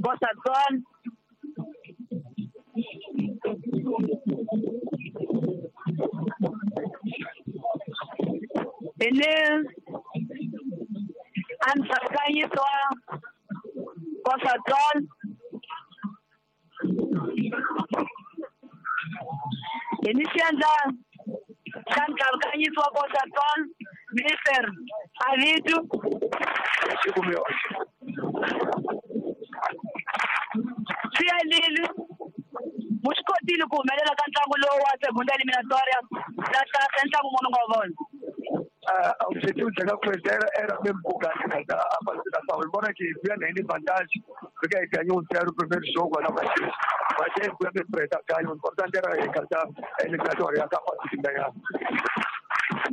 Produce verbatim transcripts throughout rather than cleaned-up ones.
Costa do Sol. Ene Antsakanyiswa Costa do Sol. Ene Xandla Xantsakanyiswa Costa do Sol, Mister Avitu. Swi muxikotile ku humelela ka ntlangu lowu wa segunda eliminatória da taça ntlangu munhu nga vona. O objetivo de chegar com era, era mesmo ganhar a participação, embora que vinha nem vantagem, porque aí ganhou um zero o primeiro jogo lá, mas mas é bem preta, ganhou. O importante era encaixar a eliminatória, a capacidade de ganhar.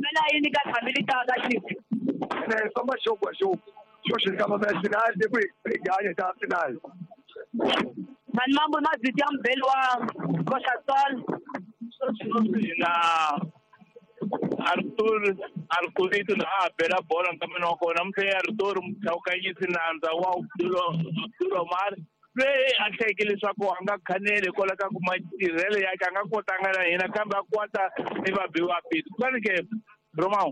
Mas aí ninguém habilita da Chico. É só mais jogo a jogo. Só chegava na final, depois ganha a final. Mas mambo nós vivíamos belo a Costa Sol. Na Arthur Arthurito na bela bola também não kona mse Arthur mchawukanyisi nandza wa Abdul Omar loyi a hlekile leswaku a nga khaneli hikwalaho ka ku matirhelo yakhe a nga kotanga na hina kambe a kota ni vabiwa pito. Kutani ke Romão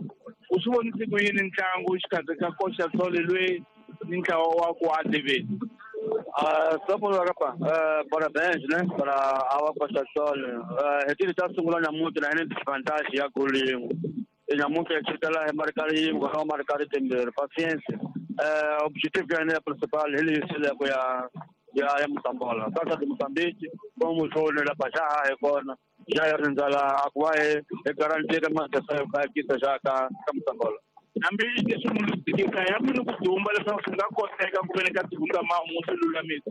u swi vonise ku yini ntlangu xikarhi ka Costa Sol loyi ni ntlawa wa ku A D V? Uh, só por rapa, uh, parabéns, né, para a Costa Sol. Retiro tá sungula nyamuti na ene desvantagem ya gol yin'we. Nyamuti ya chikala hi marcar yin'we, ha marcar timbirhi. Paciência. Uh, objetivo ya ene principal hi leswi ku ya ya ya Moçambola. Taça de Moçambique, como jogo la baixar hi kona. Já ya rindzala a ku va hi garantir matesa ka kisa xa ka ka Moçambola. Hambi leswi munhu tika ya munhu ku dumba leswaku swi nga koteka ku veni ka tihundza mahungu swi lulamisa.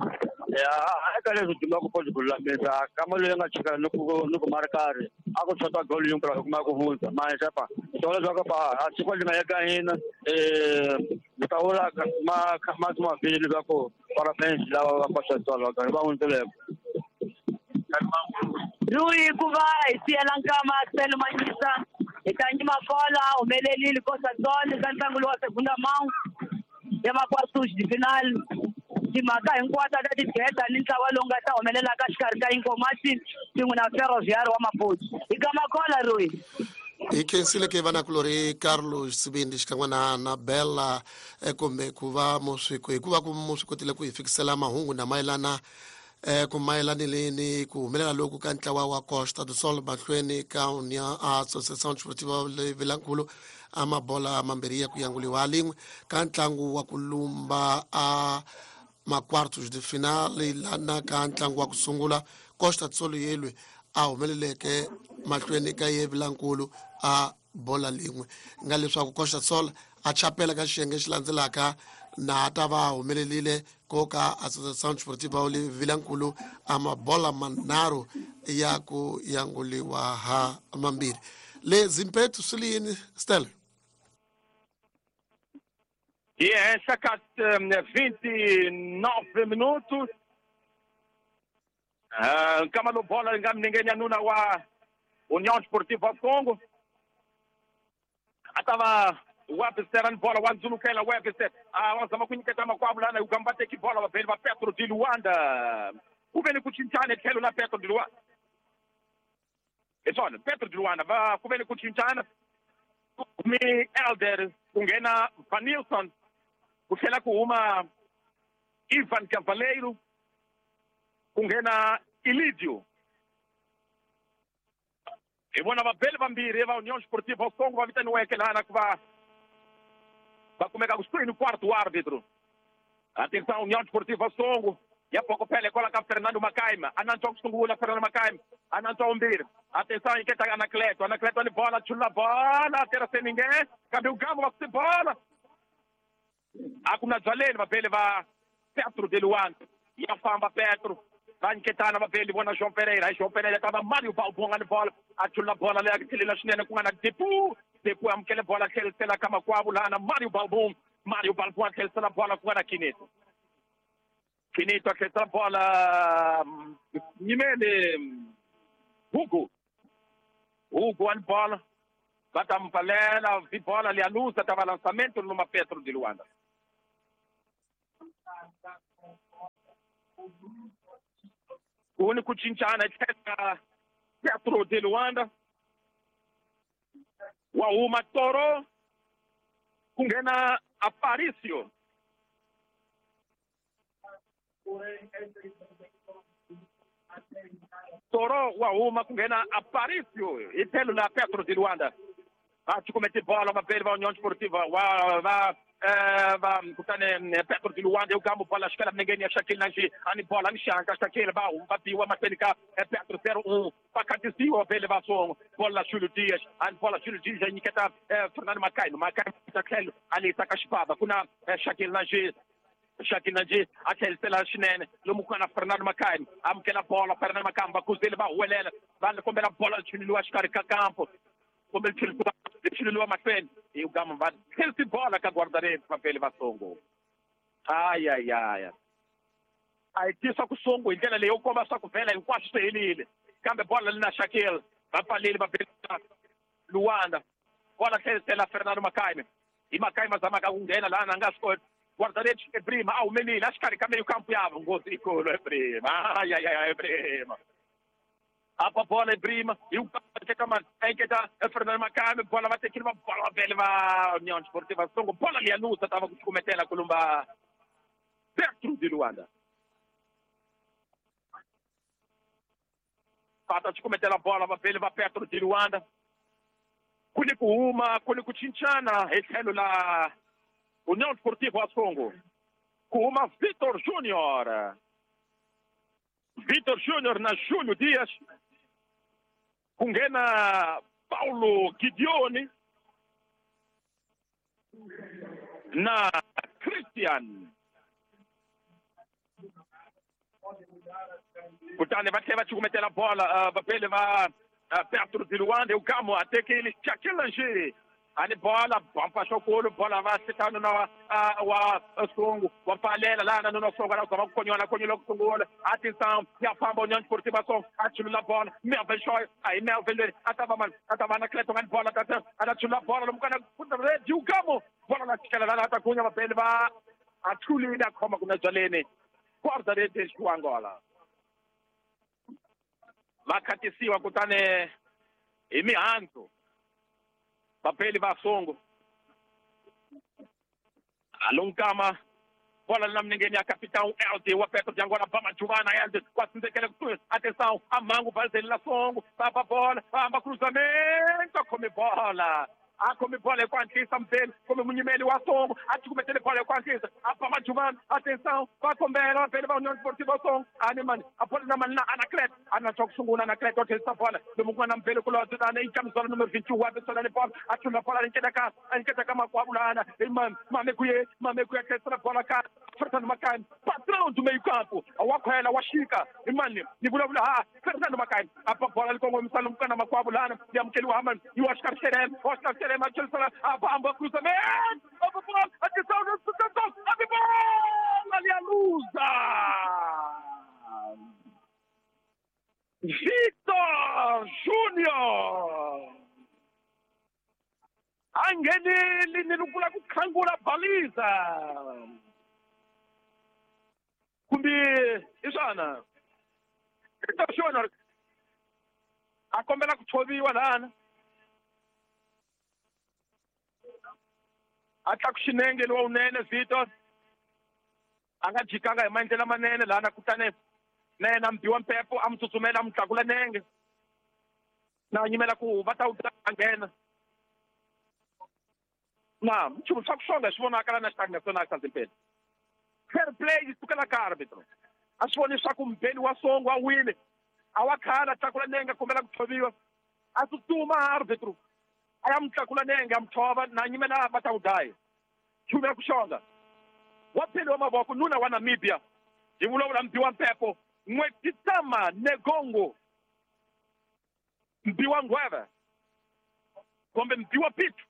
Ya eka leswi dumba ku poti ku lulamisa kama loyi nga chika ni ku ni ku markari a ku shota goal yin'we ku kuma ku hundza manje pa swona leswaku pa a swi koti nga ya ka hina eh ni ta vula ma ma ma vili leswaku parabéns lava va Costa Sol va va hundzeleko. Rui ku va hi siyela nkama Selo Manyisa hi ta nyima kola humelelile Costa Sol ka ntlangu lowu wa segunda mão ya ma-quartos de final. Timhaka hinkwato ta tigeda ni ntlawa lowu nga ta humelelaka xikarhi ka Inkomati swin'we na Ferroviário wa Maputo. Hi ka makola Rui. Hi khensile ke vanakulorhi Carlos Sibindi xikan'we na na Bella kumbe ku va muswiko hikuva ku mu swi kotile ku hi fikisela mahungu na mayelana eh ku mayelanile ni ku humelela loku ka ntlawa wa Costa do Sol mahlweni ka União Associação Desportiva Vilankulu a mabola mambirhi ya ku yanguliwa lin'we ka ntlangu wa ku lumba a ma-quartos de final lana ka ntlangu wa ku sungula Costa do Sol yelwe a humeleleke mahlweni ka ye Vilankulu a bola lin'we nga leswaku Costa do Sol a chapela ka xiyenge xi landzelaka na ta va humelelile ko ka Associação Desportiva Vilankulu a mabola manharhu ya ku yanguliwa ha mambirhi. Le Zimpeto swi li yini Stella? E henhla ka vinte e nove minutos. Nkama lo bola yi nga milengeni ya nuna wa União Desportiva Congo. A ta va Webster ni bola wa ndzulukela Webster a wa zama ku nyiketa makwavo lana Ugamba teki bola vavheli va Petro de Luanda. Ku ve ni ku cincana etlhelo la Petro de Luanda. Hi swona Petro de Luanda va ku ve ni ku cincana mi Elder ku nghena Vanilson ku tlhela ku huma Ivan Cavaleiro ku nghena Ilidio. Hi vona vabeli vambirhi va União Desportiva Congo va vitaniweke lana ku va va kumeka kusuhi ni quarto wa árbitro. Atenção, União Desportiva Songo ya poko pele kola ka Fernando Macaima. Anantswa ku sungula Fernando Macaima. Anantswa umbirhi. Atenção, inquieta Anacleto. Anacleto ni bola, chula bola, tera sem ninguém. Kambe ugambo wa bola. A ku na byaleni vabeli va Petro de Luanda. Ya famba Petro. Va nyiketana vabeli vona João Pereira. Hi João Pereira ta va Mario Balbonga ni bola. A chula bola leyi tlhelela swinene ku nga na Depu. Depu amukele bola tlhelisela ka makwavo lana Mario Balbon. Mario Balbon a tlhelisela bola ku nga na Kinito. Kinito a tlhelisela bola nyimele Hugo. Hugo ani bola. Va ta mpalela vi bola leyi a luza ta va lançamento numa Petro de Luanda. Ku ni ku cincana tlhela Petro de Luanda wa huma Toro ku nghena Aparicio. Toro wa huma ku nghena Aparicio hi tlhelo la Petro de Luanda. A cukumeti bola vapeli va União Esportiva wa va va kutani Petro de Luanda eu bola xikela minengeni ya Shaquille Nanji ani bola ni xanka Shaquille va huma biwa mahlweni ka Petro zero um va khatisiwa vele va songo bola Júlio Dias ani bola Júlio Dias ya nyiketa Fernando Macaino Macaino ta tlhelo a lisa ka xipava ku na Shaquille Nanji Shaquille Nanji a tlhelisela swinene lomu ku nga na Fernando Macaino amukela bola Fernando Macaino va kuzile va huwelela va kombela bola chuleliwa xikarhi ka kampo kombela chuleliwa chuleliwa mahlweni hi gama va tlhelisi bola ka guarda-redes vapeli va Songo. Ay ay ay a hi tisa ku Songo hi ndlela leyi yo komba swa ku vhela hinkwaswo swi helile kambe bola li na Shaquille va pfaleli va bela Luanda bola tlhelisela Fernando Macaime hi Macaime a zamaka ku nghena laha a nga swi koti. Guarda-redes Ebrima a humelile a xikarhi ka meyo kampo yavo nghozi ikulu Ebrima ay ay ay Ebrima apa bola Ebrima hi teka mani a nyiketa Fernando Macaime bola va tekile va bola va vele va União Esportiva Songo bola liya luza ta va ku cukumetela kulumba Petro de Luanda va ta cukumetela bola va vele va Petro de Luanda ku ni ku huma ku ni ku cincana hi tlhelo la União Esportiva Songo ku huma Vitor Júnior Vitor Júnior na Júlio Dias ku nghena Paulo Gideoni na Christian kutani va tlhela va cukumetela bola vapeli va Petro de Luanda u gamo a tekile Shaquille Lange ani bola bampa xokolo bola va sitano na wa Songo wa pfalela laha na Songo la zama ku konyola konyola ku sungula atenção ya famba União Esportiva Songo a chulula bola Melvin Shoy aí Melvin leri a ta va mani a ta va na Clayton ani bola tata a ta chulula bola lomu kana redi u gamo bola la chikela laha ta kunya vapeli va a chulile a khoma kuna byaleni guarda-redes wa Angola va khatisiwa kutani hi mihandzu vapeli va Songo alunkama bola na minengeni ya capitão L D wa Petro de Angola ba Majuvana L D wa tsindzekele kusuhi atenção a mangu valizeli la Songo va bola famba cruzamento khome bola a khome bola hi ku hatlisa mpeli kumbe munyimeli wa Songo a cukumetele bola hi ku hatlisa a ba Majuvana atenção va kombela vapeli va União Esportiva Songo ani mani a bola na mani na Anaclet ana swa ku sungula Anaclet wa tlhelisa bola lomu ku nga na mpeli kulobye tani i camisola numero vinte e um wa bisona ni bola a chula bola a nyiketa ka a nyiketa ka makwavo lana i mani Mamekuye Mamekuye a tlhelisela bola ka Fernando Macaime patrão do meio campo wa khwela wa xika i mani ni vulavula ha Fernando Macaime a ba bola li kongomisa lomu ku nga na makwavo lana yi amukeliwa ha mani yi wa xikarhi xereme wa xikarhi xereme a tlhelisela a famba cruzamento a bola atenção a bola ali a luza Vitor Júnior a nghenile ni lukula ku khangula baliza kumbe i swona Vitor Júnior a kombela ku tshoviwa lana a tlaku xinenge lowa wunene Vitor a nga jikanga hi maendlelo manene lana kutani na yena mbiwa mpepo a mu tsutsumela a mu tlakula nenge na nyimela ku va ta wu ta nghena na nchumu swa ku xonga swi vonaka la na xitanga na swona xa zimpeni fair play yi sukela ka arbitro a swi voni swa ku mpeni wa Songo a wile a wa khala tlakula nenge a kombela ku tshoviwa a tsutsuma arbitro a ya mu tlakula nenge a mu tshova na nyimela va ta wu daya nchumu ya ku xonga wa pheli wa mavoko nuna wa Namibia hi vulavula mbiwa mpepo N'wetitama Negongo mbiwa ngweve kumbe mbiwa pitu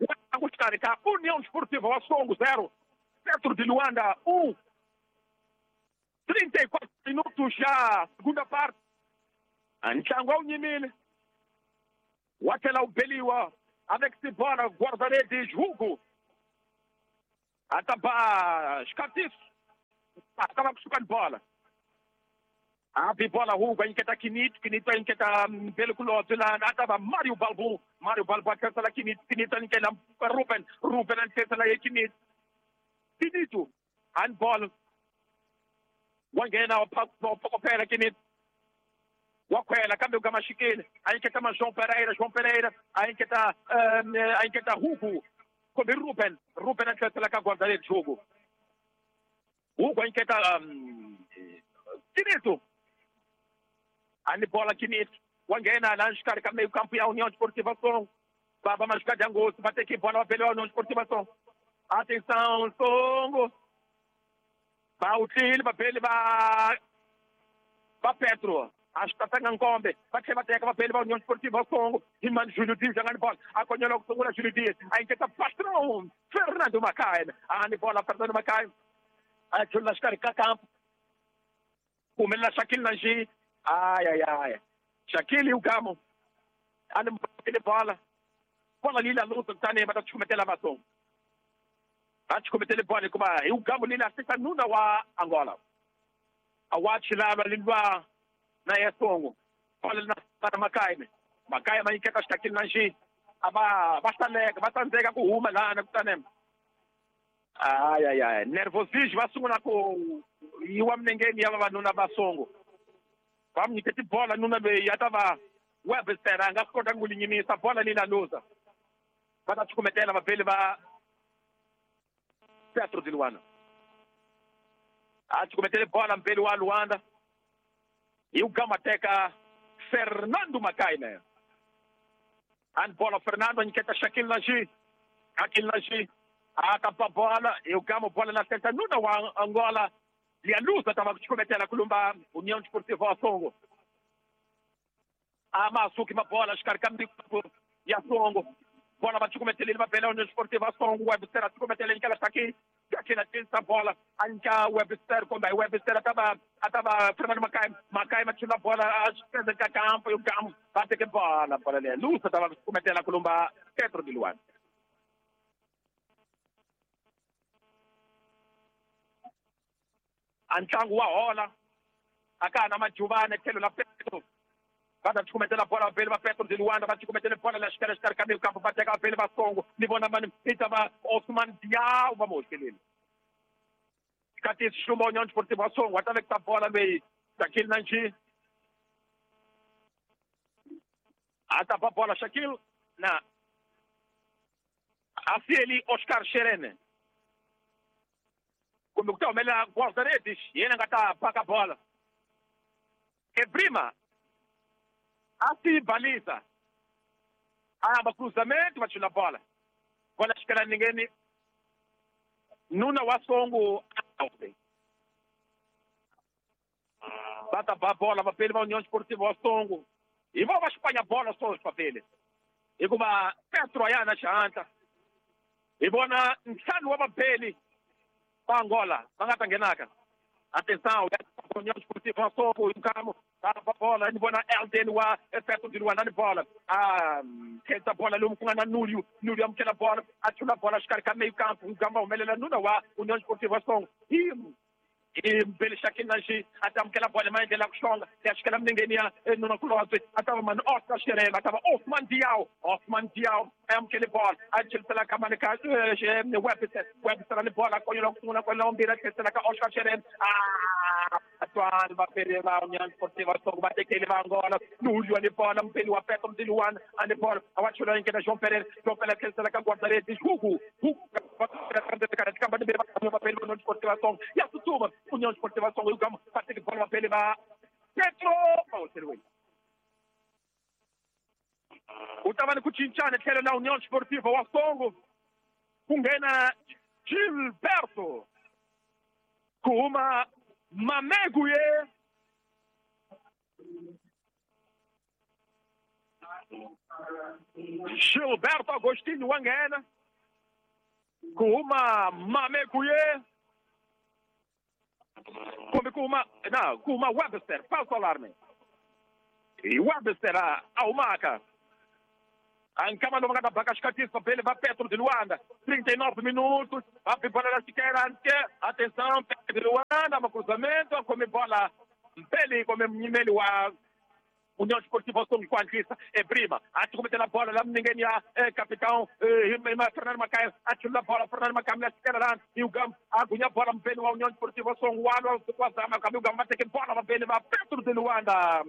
wa ku xikarhi ka União Esportiva wa Songo zero Petro de Luanda um trinta e quatro minutos já segunda parte ntlangu a wu nyimile wa tlhela wu beliwa avec bola guarda-redes Hugo a ta ba xikatiso a ta va kusuka ni bola A bola Hugo a nyiketa Kinito, Kinito a nyiketa Mbele Kulotse la a ta va Mario Balbu, Mario Balbu a tlherisela Kinito, Kinito a nyikela Ruben, Ruben a tlherisela ye Kinito. Kinito handball wa nghena wa phokopela Kinito. Wa khwela kambe ku maxikile a nyiketa ma João Pereira, João Pereira a nyiketa a nyiketa Hugo kumbe Ruben, Ruben a tlherisela ka guarda-redes Hugo. Hugo a nyiketa Kinito. Ani bola Kinito wa nghena laha xikarhi ka meio campo ya União Desportiva Songo. Va va machucar de Angosto, vai ter que bola va pela União Desportiva Songo. Atenção Songo. Va utlile va pele va va Petro. Acho que tá Nkombe, vai ser bater va pele va União Desportiva Songo. Imani Júlio Dias jogando bola. A conhela com segura Júlio Dias. Aí tenta patrão Fernando Macaé. Ani bola Fernando Macaé. Aí chula xikarhi ka campo. Humelela Shaquille Nanji. Ai, ai, ai. Shaquille e o Gamo. Ali bola. Bola ali na luta, tá nem, mas tá te cometendo a batom. Tá te cometendo bola, como e o Gamo ali na sexta nuna wa Angola. A Watch lá ali lá na Estongo. Bola na para Macaime. Macaime aí que tá Shaquille Nanji. Aba basta lega, basta nzega ku huma lá na kutanem. Ai, ai, ai. Nervosismo va sungula ku yiwa minengeni ya vavanuna va Songo. Va mi nyiketi bola nuna leyi ya ta va Webster a nga swi kota ku linyimisa bola leyi la luza. Va ta cukumetela vapeli va Petro de Luanda. A cukumetele bola mpeli wa Luanda. E o Gama teka Fernando Macaime. And bola Fernando a nyiketa Shaquille Naji. Shaquille Naji. A tapa bola e o Gama bola na senta nuna wa Angola. Lia luza tava cukumetela kulumba União Desportiva Songo. A Masuki uma bola xikarhi ya Songo. Bola va cukumetela va bela União Desportiva Songo. Webster a cukumetela nyikela Shaquille. Shaquille a tirisa bola a nyika Webster kumbe Webster a ta va a ta va Fernando Macaime. Macaime a chula bola a xipeza ka campo e o Gamo va teke bola bola leyi luza tava cukumetela kulumba Petro de Luanda. A ntlangu wa hola a ka ha na majuvana tlhelo la Petro. Va ta cukumetela bola vapeli va Petro de Luanda, va cukumetela bola la xikarhi xikarhi ka meio campo, va teka vapeli va Songo. Ni vona mani i ta va Osman Diao va moxeleni. Kati xilumba União Desportiva Songo, va ta vekisa bola leyi Shaquille Nanji. A ta ba bola Shaquille na a sieli Oscar Xerene. Kumbe ku ta humelela guarda-redes, yena nga ta paka bola. Ebrima a se baliza. A cruzamento, va chula bola. Bola xikela ningeni. Nuna wa Songo Bata ba bola vapeli va União Desportiva wa Songo. E vão va xipanya bola só papeli. Hikuva Petro a ya na xihatla. Hi vona ntlhanu wa vapeli va Angola va nga ta nghenaka. Atenção, União Desportiva Songo, o Gamo a bola, ni vona Elden wa Petro de Luanda ni bola. A tenta bola lomu ku nga na Núlio, Núlio amukela bola, a chula bola xikarhi ka meio campo, o Gamo humelela nuna wa União Desportiva Songo. E e Mbele Shaquille Nanji a ta amukela bola maendlela ku xonga, ya xikela minengeni ya nuna Kulotse, a ta va mani Oscar Xerela, a ta va Osman Diao, Osman Diao a amukele bola, a chelisela ka mani ka Webster, Webster ni bola konyola ku sungula kwela mbirhi a tlherisela ka Oscar Xerela. Ah, Atual va pele va União Desportiva Songo va tekele va Angola, Núlio ni bola mpeli wa Petro de Luanda, a ni bola a wa chula nyiketa João Pereira, João Pereira tlherisela ka guarda-redes Hugo, Hugo va pele União Desportiva Songo, ya tsutsuma União Desportiva Songo e o Gamo va teke bola va pele va Petro va u ta va ni ku cincana tlhelo la União Desportiva wa Songo ku nghena Gilberto ku huma Mameguye. Gilberto Agostinho wa nghena ku huma Mameguye kumbe ku huma na ku huma Webster, falso alarme. E Webster a humaka. Ankama lomu nga ta baka xikatisa pele va Petro de Luanda. trinta e nove minutos. A bola da Siqueira. Atenção, Petro de Luanda, um cruzamento, come bola Mupeli kumbe munyimeli wa União Esportiva Songo ku hatlisa Ebrima a cukumetela bola la minengeni ya capitão Fernando Macaia a chulula bola Fernando Macaia la tsikela lana Ugam a gunya bola mupeli wa União Esportiva Songo wa lwa wa zama kambe Ugam va teke bola vapeli va Petro de Luanda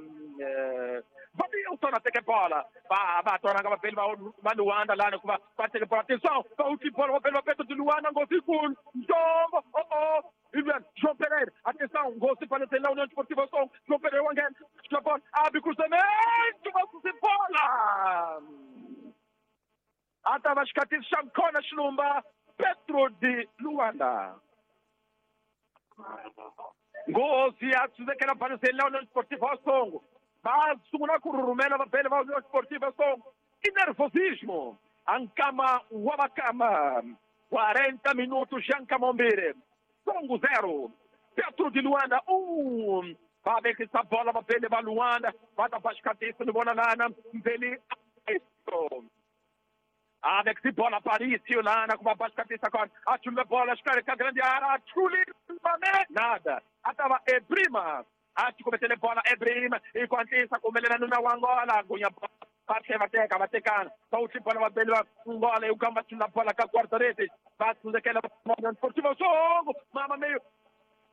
Vabilson a teke bola va va twananga vapeli va va Luanda lana ku va va teke bola atenção va uti bola vapeli va Petro de Luanda nghozi yikulu ntombo oh oh João Pereira, atenção, gol se para na União Esportiva Songo, João Pereira wangen, bola, abre cruzamento, vai bola! Atavashkati Shankona Shlumba, Petro de Luanda. Gol se atsuzekela para na União Esportiva Songo, mas sungula ku rhumela vapele va União Esportiva Songo, e nervosismo, Ankama Wabakama, quarenta minutos, Jankamombire. Songo zero, Petro de Luanda um. Vai ver que essa bola vai levar Luanda, vai dar para cabeça no Bonanana, Mbeli. Alex bola Parício Lana com uma baixa cabeça agora. Atula bola, escarca a grande área, atula nada. Atava Ebrima. Acho que cometeu bola Ebrima e com a com ele na Angola, Gunha parte vai ter, vai ter cara. Só o tipo bola vai Angola e o Gamba na bola com a quarta rede. Bate daquela Esportivo Songo, mama meio.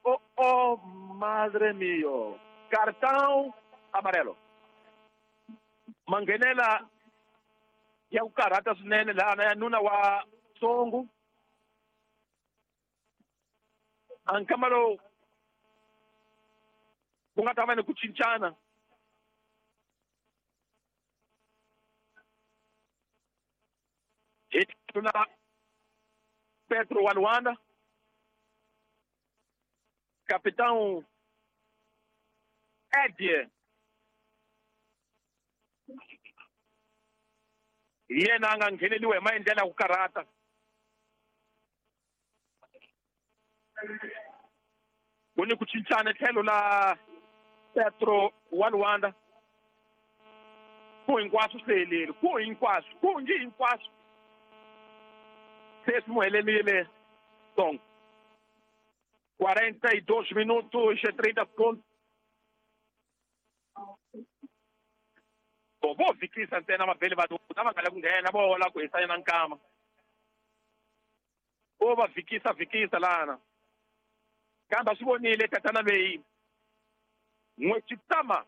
Oh, oh, madre mio. Cartão amarelo. Mangenela ya ukarata swinene laha ya nuna wa Songo. Ankama lowu ku nga ta va ni ku cincana. Hi tuna Petro wa Luanda, capitão Ed yena a nga ngheneliwa hi maendlelo ya ku karhata. Ku ni ku cincana tlhelo la Petro wa Luanda. Ku hinkwaswo swi helile, ku hinkwaswo, ku ngi hinkwaswo se swi mu helelile Songo. quarenta e dois minutos e trinta segundos. Bom, vo vhikisa ntsena vabeli va va nga la ku nghena vo hola ku hisa yena nkama. Vo va vhikisa vhikisa lana. Kambe a swi vonile tatana leyi N'wechitama.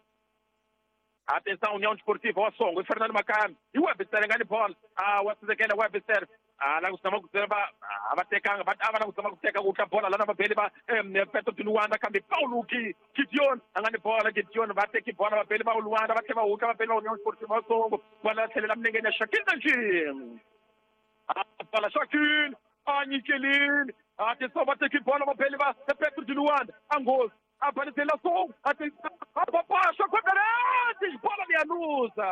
Atenção, União Desportiva wa Songo, e Fernando Macami. E o Webster nga ni bola. Ah, wa tsekela Webster. Ah, la kusama ku tsema a va tekanga va a va la kusama ku teka ku tla bola lana vabeli va Petro de Luanda kambe Paulo ki Gideon a nga ni bola Gideon va teki bola vabeli va Luanda va tlhela va huka vabeli va União Esportiva wa Songo bola tlhelela milengeni ya Shakil Najim. Ah, bola Shakil a nyikelini. Atenção, va teki bola vabeli va Petro de Luanda Angola apareceu la Songo. Atenção, a papacha guarda-redes, bola de Anusa.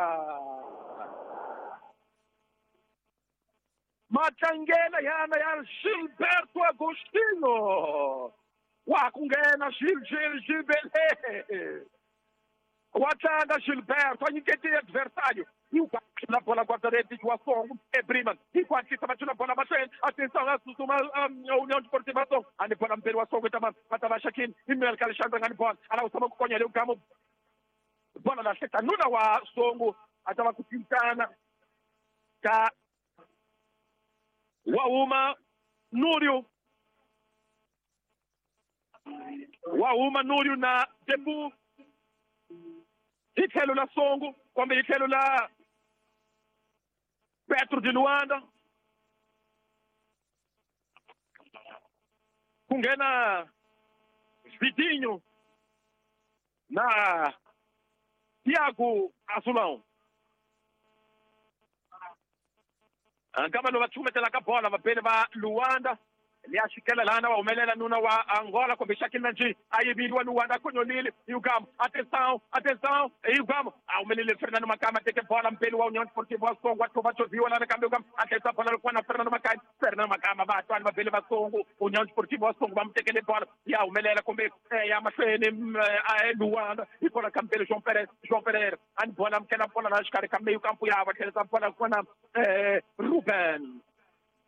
Matlangela yana ya Gilberto Agostino. Wa kungena Gil Gil Gilbele. Watlanga Gilberto, a nyikete adversário. E o na bola guarda-redes wa Songo, Ebrima. E quatro bateu na bola mahlweni. Atenção, a Susuma a União Desportiva Songo. A ni bola mperi wa Songo tama matava Shakin, Imel Alexandre ngani bola. Ala usama ku konyele ukamo. Bola la hleta nuna wa Songo atava ku cincana ka Wauma Núrio. Wauma Núrio na Debu. Hi tlhelo la Songo, kumbe hi tlhelo la Petro de Luanda. Ku nghena Vitinho na Thiago Azulão. Ankama lowu va cukumetelaka bola vabeli va Luanda liya xikela lana va humelela nuna wa Angola kumbe Shakil Nanji a yiviliwa Luanda konyolile Ugam. Atenção, atenção, Ugam a humelele Fernando Macama teke bola mpeli wa União Desportiva wa Songo wa thova choviwa lana kambe Ugam a tlherisa bola loko na Fernando Macama. Fernando Macama va twani vabeli va Songo União Desportiva wa Songo va mu tekele bola ya humelela kumbe ya mahlweni a Luanda hi bola ka mpeli João Pereira. João Pereira a ni bola amukela bola la xikarhi ka meyo kampo ya va tlherisa bola kona Ruben.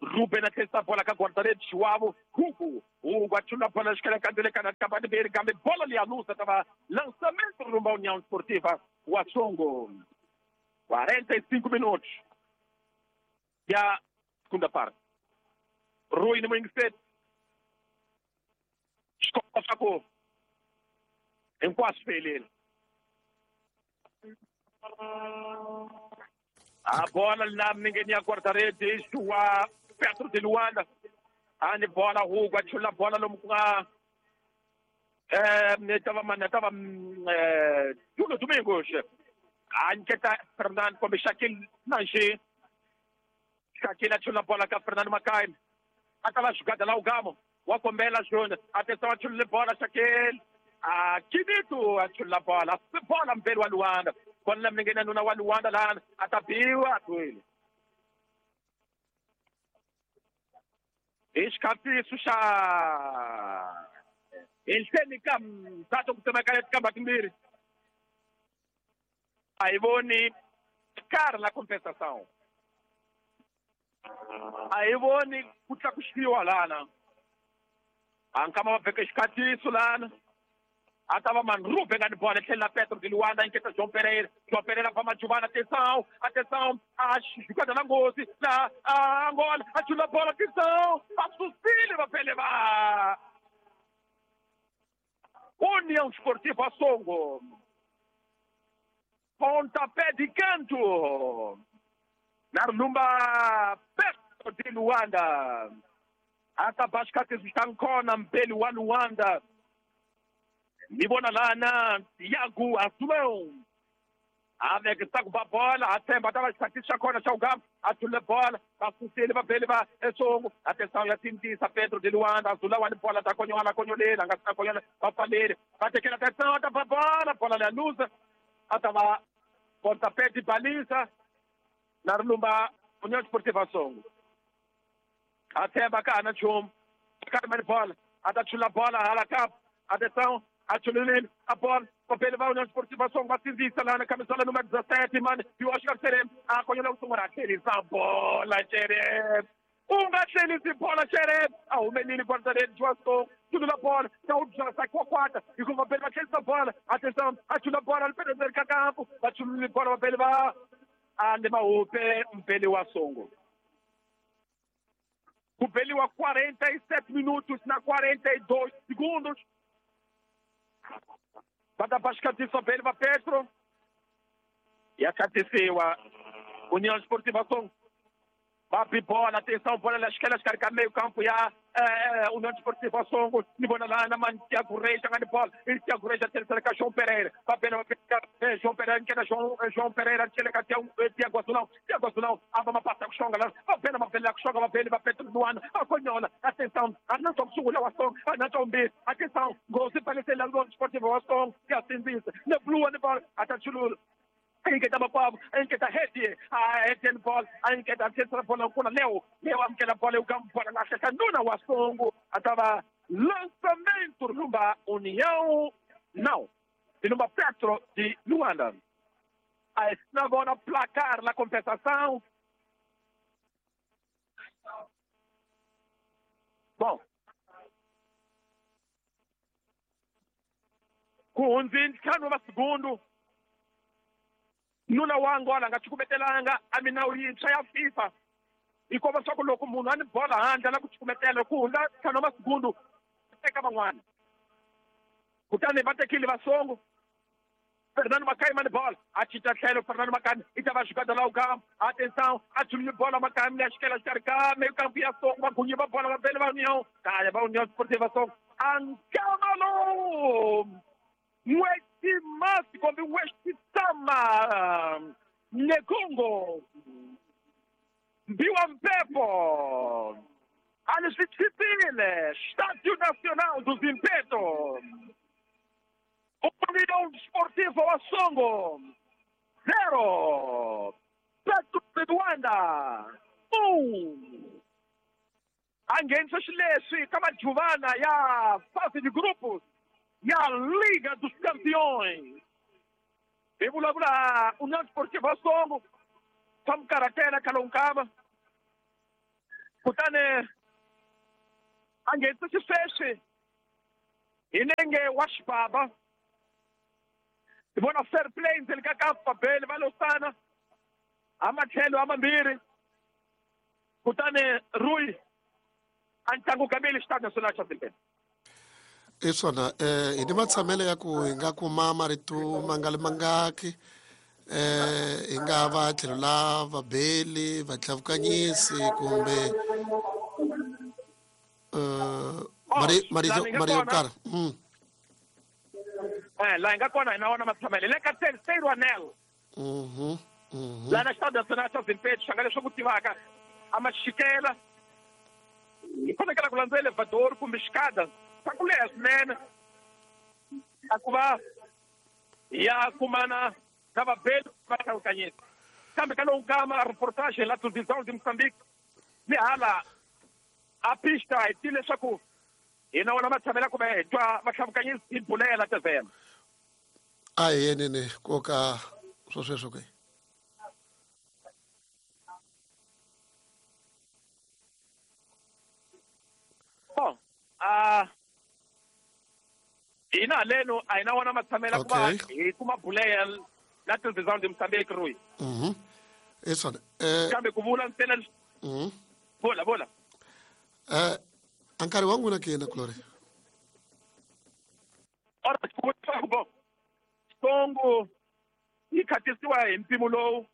Ruben a tlherisa bola ka guarda-redes João Hugo. Hugo achula bola xikelekandile kana kabadiberi kambe bola liya lusa tava lançamento rumbo à União Esportiva wa Songo. quarenta e cinco minutos ya segunda parte. Rui no Mingset. Escola sacou. Hinkwaswo heleli. A bola na milengeni ya guarda-redes wa Petro de Luanda. Ani bola Hugo achula bola lomu ku nga eh tava mana tava eh Júlio Domingos. A nyiketa Fernando kumbe Shaquille Nange. Shaquille achula bola ka Fernando Makai. A ta va jugada la Ugamo. Wa kombela Júnior. Atenção achula bola Shaquille. A Kinito achula bola. Bola mbele wa Luanda. Bola milengeni nuna wa Luanda lana. A ta biwa twile. Xikatiso xa ehenhleni ka mthatho ku tsemakanya tikamba timbirhi a hi voni karhi la compensação a hi voni ku tlakusiwa lana a nkama va veke xikatiso lana a ta va Manrupe nga ni bola tlhela Petro de Luanda inketa João Pereira. João Pereira va Majuvana, atenção, atenção, a jogada na nghozi na a Angola, achula bola, atenção, va susile va pele va União Esportiva Songo. Pontapé de canto. Na lumba Petro de Luanda. Ata bashikati nkona mbele wa Luanda. Ni vona lana Thiago Azulão. Avec takuba bola, a tshemba ta va xikhatisi xa kona xa Ugamba, a thule bola, va susile va bele va Esongo. Atenção ya tintisa Pedro de Luanda, Azulão wa ni bola ta konyola konyolela, nga ta konyola, va pfaleli. Va tekela atenção, ta va bola, bola leya luza. A ta va pontapé de baliza na ri lumba União Esportiva Songo. A tshemba ka ha na nchumu. Karma ni bola, a ta chula bola hala ka. Atenção, achulile a bola, papel va União Esportiva Songo, va sindzisa lana camisola número dezessete, mano, e o Oscar Xerem, a konyola ku sungula, tlherisa bola Xerem. U nga tlherisi bola Xerem. A humelile guarda-redes wa Songo, chulula bola, ta u byasa kwakwata, hikuva vapeli va tlherisa bola. Atenção, achula bola, ri ka kampo, va chulule bola vapeli va ande mahupe mpeli wa Songo. Ku beliwa quarenta e sete minutos na quarenta e dois segundos. Va ta ba xikatiso bele va Petro. Ya khatisiwa União Esportiva Songo. Va bi bola, atenção, bola la xikela xikarhi ka meio campo ya eh, União Esportiva Songo. Ni vona lana man Thiago Reis nga ni bola. I Thiago Reis a tlherisela ka João Pereira. Va bela va eh, João Pereira nkena João João Pereira tlhela ka Thiago Azulão. Thiago Azulão a va mapasa ku xonga la. Va bela va bela ku xonga va bele va Petro Luanda. A konyola, atenção, a nantswa ku sungula wa Songo, a nantswa vumbirhi. Atenção, nghozi palisela União Esportiva wa Songo. Ya sindzisa. Ne blue ni bola, a ta chulula. Inketa makwavo, inketa heti, a heti ni bola, a inketa tlherisela bola kuna Leo, Leo amukela bola ugamba bola lahla nuna wa Songo, a ta va lançamento lumba União, não, de lumba Petro de Luanda. A na vona placar la compensação. Bom, ku hundzini ntlhanu wa segundo. Nuna wa Angola nga cukumetelanga a minawu yintshwa ya FIFA yi komba swa ku loko munhu a ni bola handle na ku cukumetela ku hundza ntlhanu wa masegundu teka van'wana. Kutani va tekile va Songo. Fernando Makai mani bola, a cinca tlhelo Fernando Makai i ta va jugada la Ugamba. Atenção, a chulile bola Makai ya xikela xikarhi ka meio campo ya Songo, va gunyi va bola va bele va União. Kaya va União Esportiva Songo. Ankamalo! N'weti kumbe N'weti-Tama Nekongo Mbiwa Mpepo a ni swi tshipile Estádio Nacional do Zimpeto. União Esportiva wa Songo zero, Petro de Luanda um. A nghenisa xileswi ka majuvana ya fase de grupos ya Liga dos Campeões. Hi vulavula União Esportiva Songo swa mukarhatela khale nkava. Kutani A nghenisa xisweswi hi nenge wa xibaba. Hi vona fair play ndzeni ka kampu vabeli va losana a matlhelo a mambirhi. Kutani Rui a ntlangu kambili Stade Nacional xa Zimbabwe. I swona eh hi ni matshamelo ya ku hi nga kuma marito mangali mangaki eh hi nga va tlhelo la vabeli vatlhavukanyisi kumbe eh mari marito marito yo karhi. Mm. Eh la hi nga kona hi na wona matshamelo le ka terceiro anel. Mhm. Mhm. La na Stade Nacional xa Zimbabwe xanga leswi ku tivaka a maxikela hi fanekele ku landza elevador kumbe xikada swa ku leha swinene a ku va ya kumana na vabeli va hlawukanyisa kambe ka lowu nkama reportage la televisão de Moçambique ni hala a pista hi tile leswaku hi na wona matshamela kumbe hi twa vahlawukanyisi hi bulela tevhela. A hi yenene koka swo sweswo ke. Bom, a hina haleno a hi na wona matshamela ku va hi kuma buleya la televisão de Moçambique Rui. Mhm. I swona eh kambe ku vula ntsena. Mhm. Vula vula. Eh a nkarhi wa n'wina ke yena Glory. Ora ku bo. Songo yi khatisiwa hi mpimo lowu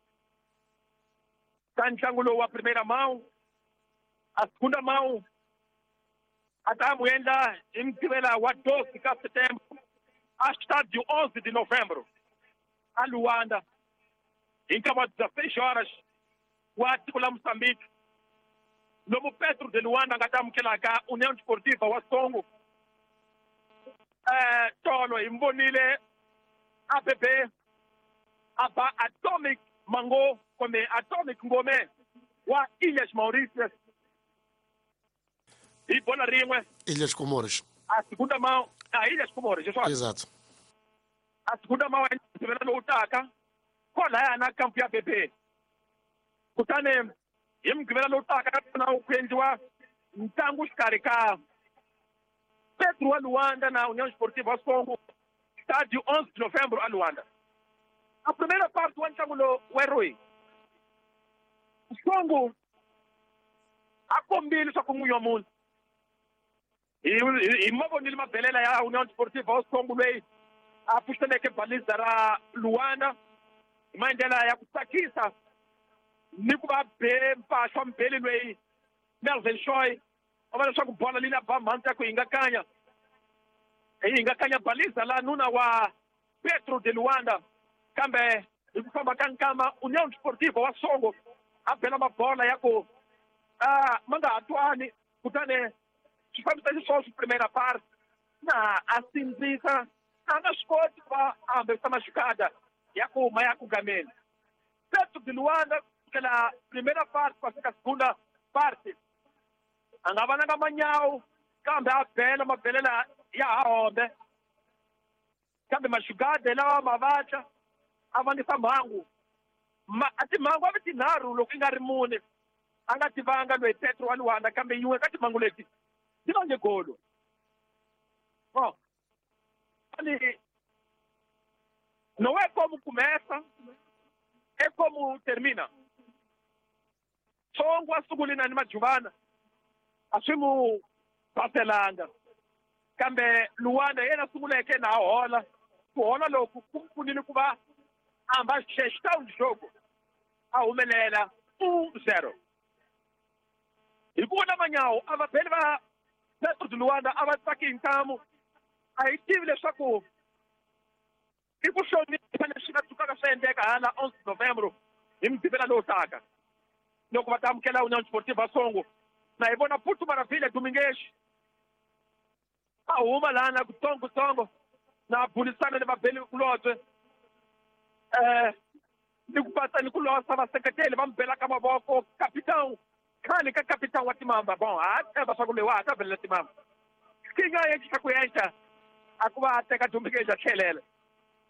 ka ntlangu lowu wa primeira mão a segunda mão a ta mu endla hi Mugqivela wa doze ka setembro a estádio onze de novembro a Luanda hi nkarhi wa dezesseis horas wa tiko la Moçambique lomu Petro de Luanda nga ta amukelaka União Desportiva wa Songo. Eh tolo hi vonile A B B a ba Atomic Mango kumbe Atomic Ngome wa Ilhas Mauritius hi bola rin'we. Ilhas Comores. A segunda mão, a Ilhas Comores, isso. Exato. A segunda mão é Mugqivela lowu taka kwalaya na kampu ya B B. Kutani hi Mugqivela lowu taka na ku endliwa ntlangu xikarhi ka Petro wa Luanda na União Esportiva Songo, estádio onze de novembro a Luanda. A primeira parte wa ntlangu lowu wa Rui. Songo a kombile leswaku n'winyi wa munhu hi mavonile mabelela ya União Desportiva wa Songo loyi a pfuxeleke baliza ra Luanda hi maendlela ya ku tsakisa ni ku va be mpahla wa mubeli loyi Melvin Shoy a va leswaku bola leyi na ba mhandzi ya ku hingakanya hi hingakanya baliza la nuna wa Petro de Luanda kambe hi ku famba ka nkama União Desportiva wa Songo a bela mabola ya ku a ma nga ha twani kutani swi fambisa xisweswo primeira parte na a sindzisa a nga swi koti ku va a hambesa maxikada ya ku huma ya ku gameni. Petro de Luanda kusukela primeira parte ku fika segunda parte a nga vananga manyawu kambe a bela mabelela ya ha hombe kambe maxigada lawa ma vatla a vangisa mhangu ma a timhangu a vi tinharhu loko i nga ri mune a nga tivanga loyi Petro wa Luanda kambe yin'we ka timhangu leti ti vange golo. Bom, ali não é como começa, é como termina. Songo a sungulina ni Majuvana a swi mu baselanga kambe Luanda yena sunguleke na hola ku hola loku ku pfunile ku va a hamba gestão de jogo a humelela um zero. Hi ku vona manyawu a vabeli va Petro de Luanda a va tsaki hi ntamu a hi tivi leswaku i ku hlonipha leswi nga tsukaka swi endleka hala onze de novembro hi Mugqivela lowu taka loko va ta amukela União Desportiva Songo. Na hi vona Putu Maravilha Domingues a huma lana kutsongotsongo na bulisana ni vabeli kulobye eh ni ku pata ni ku losa vaseketeli va mi belaka mavoko capitão khale ka capitão wa timamba. Bom a tshemba swa ku leyi wa ha ta belela timamba kinga yenxa ku yenxa a ku va a teka Domingues a tlhelela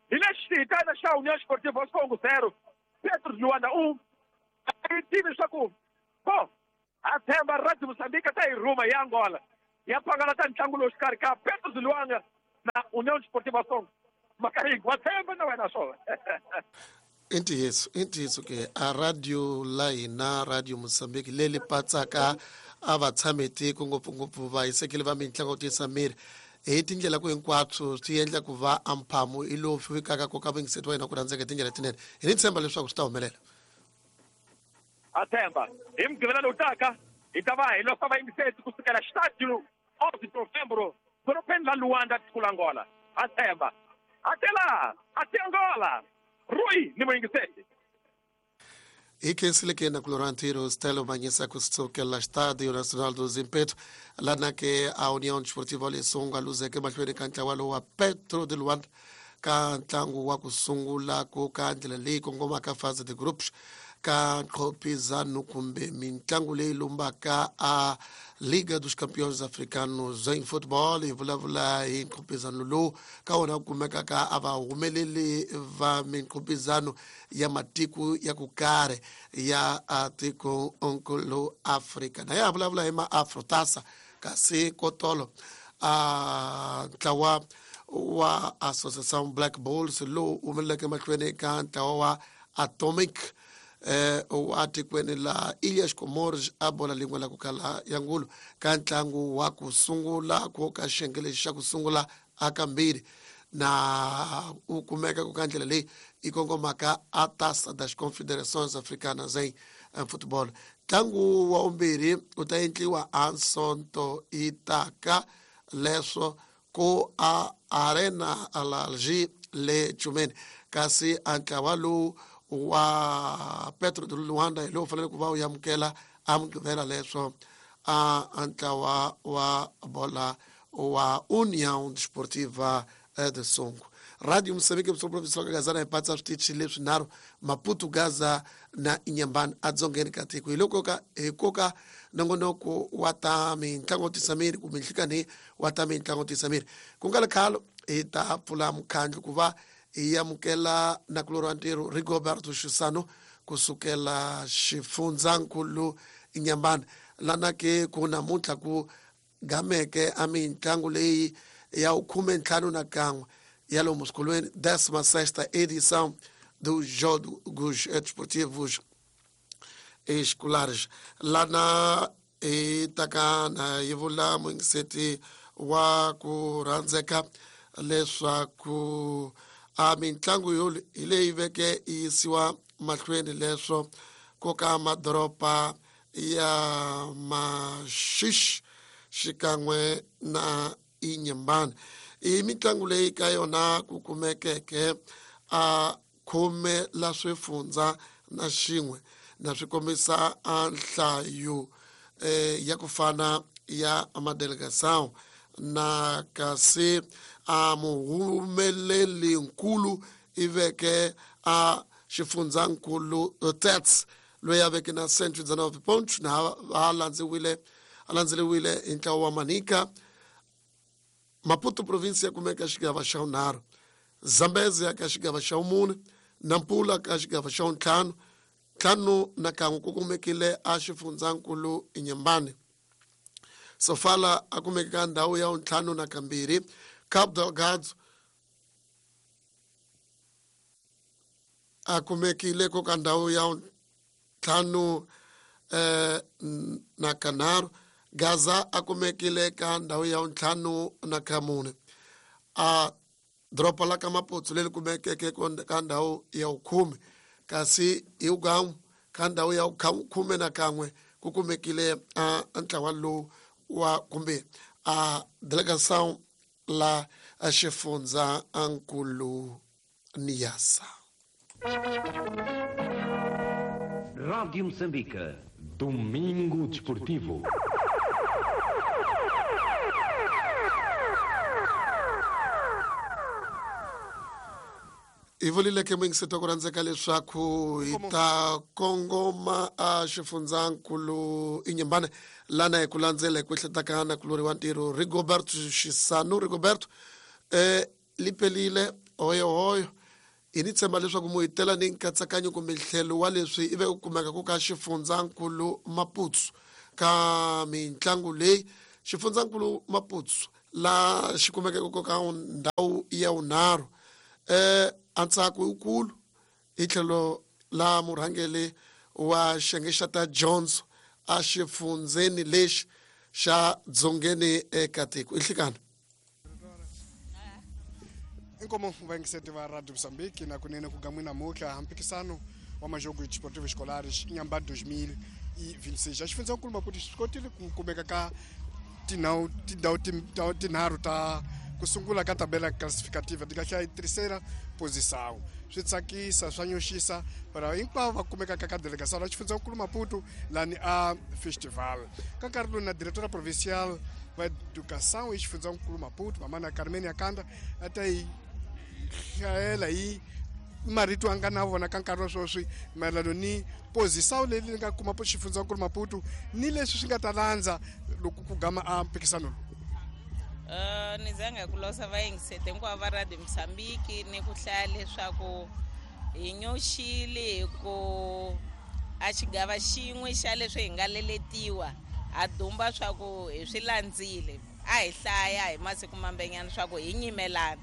hi lexi hitana xa União Esportiva Songo zero Petro de Luanda um. A yi tivi leswaku bo a tshemba Radio Moçambique ta hi rhuma hi Angola Ya pangalata ntlangu lowu xikarhi ka Petro de Luanda na União Desportiva Songo. Macarinho, wa tshemba na wena swona. I ntiyiso i ntiyiso ke a radio la hina Radio Mozambique leyi patsaka a va tshame tiko ngopfungopfu va hisekile va mitlangu tiyisa miri hi tindlela ku hinkwaswo swi endla ku va amphamu i lowu fikaka ku ka vuyingiseti wa hina ku rhandzeka hi tindlela tinene. Hi ni tshemba leswaku swi ta humelela. A tshemba hi mugqivela lowu taka hi ta va hi losa vayingiseti kusukela xitadio onze de novembro dorobeni la Luanda tiko la Angola. A tshemba até lá, até Angola. Rui ni muyingiseti. Hi khensile ke na kulorantiro Stelo Manyisa kusukela Estádio Nacional do Zimpeto lana ke a União Desportiva Lesongo luzeke mahlweni ka ntlawa lowu wa Petro de Luanda ka ntlangu wa ku sungula ku ka ndlela leyi kongomaka fase de groups ka nqhopizano kumbe mintlangu leyi lumbaka a Liga dos Campeões Africanos em Futebol. Hi vulavula hi nqhopizano lowu ka wona ku kumekaka a va humeleli va minqhopizano ya matiko ya ku karhi ya tiko nkulu Afrika. Na ya vulavula hi ma-Afrotasa kasi kotolo a ntlawa wa Associação Black Bulls lowu humeleleke mahlweni ka ntlawa wa Atomic eh wa tikweni la Ilhas Comores a bola lin'we la ku kala ya ngulu ka ntlangu wa ku sungula ku ka xiyenge lexi xa ku sungula a kambirhi na u kumeka ku ka ndlela leyi yi kongomaka a Taça das Confederações Africanas em Futebol. Ntlangu wa vumbirhi u ta endliwa a Sonto itaka leswo ku a Arena Alalji le Chumeni kasi a ntlawa lowu wa Petro de Luanda hi lowu fanele ku va u amukela a mugqivela leswo a ntlawa wa bola wa União Desportiva de Songo. Radio Moçambique província ka Gazana hi patsa switichi leswinharhu Maputo, Gaza na Inhambane adzongeni ka tiko. Hi loko ka hi koka nongonoko wa ta mitlangu tisa miri kumbe nhlikani wa ta mitlangu tisa miri ku nga ri khale hi ta pfula mukhandlu ku va hi amukela nakulorhi wa ntirho Rigoberto Xisano kusukela xifundzankulu Inhambane lana ke ku namuntlha ku gameke a mitlangu leyi ya khume ntlhanu na kan'we ya lomu swikolweni décima sexta edição dos Jogos Desportivos Escolares. Lana hi taka na yi vula muyingiseti wa ku rhandzeka leswaku a mitlangu yo hi leyi veke yi yisiwa mahlweni leswo ku ka madoroba ya Maxixe xikan'we na Inhambane. I mitlangu leyi ka yona ku kumekeke a khume la swifundza na xin'we na swi kombisa a nhlayo eh, ya ku fana ya madelegação na kasi a muhumeleli nkulu i veke a xifundzankulu Tets loyi a veke na cento e dezenove pontos na a landziwile a landzeriwile hi ntlawa wa Manica. Maputo província kumeka xigava xa vunharhu, Zambezia ka xigava xa vumune, Nampula ka xigava xa vuntlhanu, ntlhanu na kan'we ku kumekile a xifundzankulu Inhambane. Sofala a kumeka ka ndhawu ya vuntlhanu na kambirhi, Cabo Delgado a kumekile ku ka ndhawu ya vuntlhanu eh, na kanharhu, Gaza a kumekile ka ndhawu ya vuntlhanu na kamune. A doroba la ka Maputo leri kumekeke ka ndhawu ya vukhume kasi hi ugamu ka ndhawu ya khume na kan'we ku kumekile a ntlawa lowu wa kumbe a delegação la xifundza nkulu Niassa. Rádio Moçambique, Domingo Desportivo. Hi vulile ke muyingiseti wa ku rhandzeka leswaku hi ta kongoma a xifundzankulu Inhambane lana hi ku landzela hi ku ehletaka na kulori wa ntirho Rigoberto Xisano. Rigoberto eh lipelile hoyohoyo hi ni tshemba leswaku mu hi tela ni nkatsakanyo kumbe ntlhelo wa leswi ive ku kumeka ku ka xifundzankulu Maputo ka mitlangu leyi xifundzankulu Maputo la xi kumekeke ka ndhawu ya vunharhu eh antsako wukulu hi tlhelo la murhangeli wa xiyenge xa ta dyondzo a xifundzeni lexi xa dzongeni eka tiko. Ihlikana inkomo vayingiseti va Radio Moçambique na kunene ku gamwina namuntlha mpikisano wa majogo desportivo escolares Inhambane dois mil e vinte e seis. A xifundzankulu Maputo xi kotile ku kumeka ka tindhawu tindhawu tinharhu ta ku sungula ka tabela classificativa ti kahle terceira posição. Swi tsakisa swa nyoxisa para hinkwavo va kumekaka ka delegação la xifundzankulu Maputo lani a festival. Ka nkarhi lowu na diretora provincial va educação e xifundzankulu Maputo mamana Carmen Akanda a ta yi hlayela hi marito a nga na vona ka nkarhi wa sweswi mayelano ni posição leyi ni nga kuma xifundzankulu Maputo ni leswi swi nga ta landza loko ku gama a mpikisano lowu. Uh, ni zanga ku losa vayingisete hinkwavo va Radio Moçambique ni ku hlaya leswaku hi nyoxile hi ku a xigava xin'we xa leswi hi nga leletiwa ha dumba swa ku hi swi landzile a hi hlaya hi masiku mambenyana swa ku hi nyimelana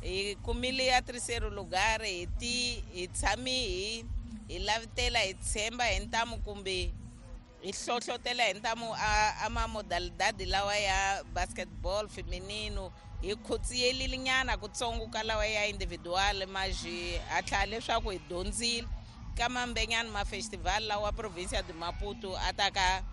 hi kumile ya terceiro lugar hi ti hi tshami hi hi lavitela hi tshemba hi ntamu kumbe hi hlohlotela hi ntamu a ma modalidade lawa ya basketball feminino hi khotsiyelile nyana kutsongo ka lawa ya individual maji hatla leswaku hi dyondzile ka mambenyana ma festival lawa provincia de Maputo a ta ka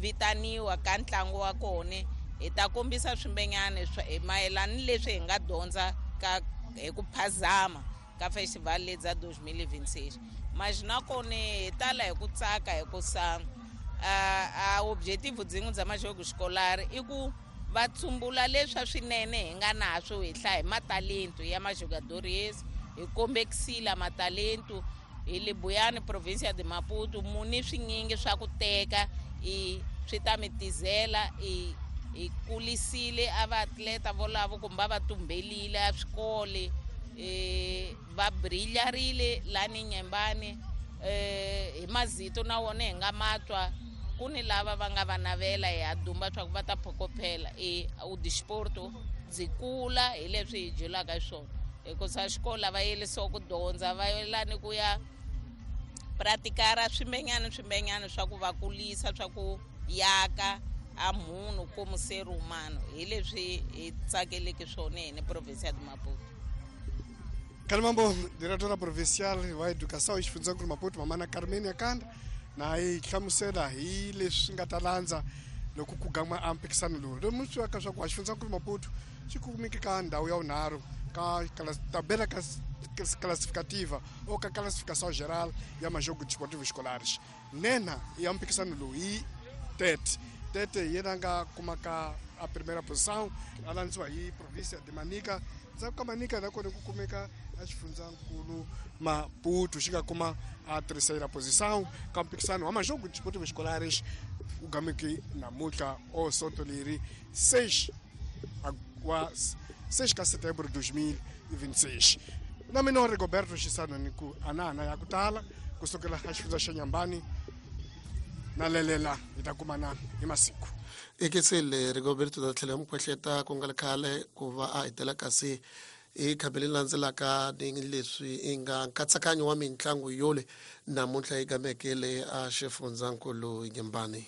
vitaniwa ka ntlangu wa kona hi ta kombisa swimbenyana mayelana ni leswi hi nga dyondza ka hi ku phazama ka festival leyi bya dois mil e vinte e seis. Mas nakona hi tala hi ku tsaka hi ku sa a objetivo byin'we bya majogo escolar i ku va tsumbula leswi swinene hi nga naswo hi hlaya hi matalento ya majogadores hi kombekisile matalento hi le Buyani provincia de Maputo muni swinyingi swa ku teka i swi ta mi tizela i hi kulisile a vaatleta volavo kumbe va tumbelile a swikole eh va brilharile lani Nyembani eh hi mazito na wona hi nga matwa ku ni lava va nga va navela hi ha dumba swa ku va ta phokophela e o desporto byi kula hi leswi hi dyulaka hi swona hikusa xikolo va yelisiwa ku dyondza va yelani ku ya praticara swimbenyana swimbenyana swa ku va kulisa swa ku yaka a munhu como ser humano hi leswi hi tsakeleke swona hi ni provincia de Maputo. Kalimambo, diretora provincial wa educação e xifundzankulu Maputo mamana Carmen Akanda na yi hlamusela hi leswi nga ta landza loko ku gama a mpikisano lowu. Lomu swi ka swa ku xifundzankulu Maputo xi kumeke ka ndhawu ya vunharhu ka tabela classificativa ou ka classificação geral ya majogo desportivo escolares. Nena ya mpikisano lowu hi Tete. Tete yena nga kuma ka a primeira posição a landziwa hi província de Manica. Ndzhaku ka Manica nakona ku kumeka a xifundzankulu Maputo xi nga kuma a terceira posição ka mpikisano wa majogo desportivo escolares u gameke namuntlha o sonto leri seis wa seis ka setembro dois mil e vinte e seis. Na mina Rigoberto Xisano ni ku anana ya ku tala kusukela ka xifundza xa Nyambani na lelela hi ta kumana hi masiku. Ekesele Rigoberto ta tlhela mukhwehleta ku nga ri khale ku va a hetela kasi hi khambi leri landzelaka ni leswi i nga nkatsakanyo wa mitlangu yole namuntlha yi gamekele a xifundzankulu Nyembani.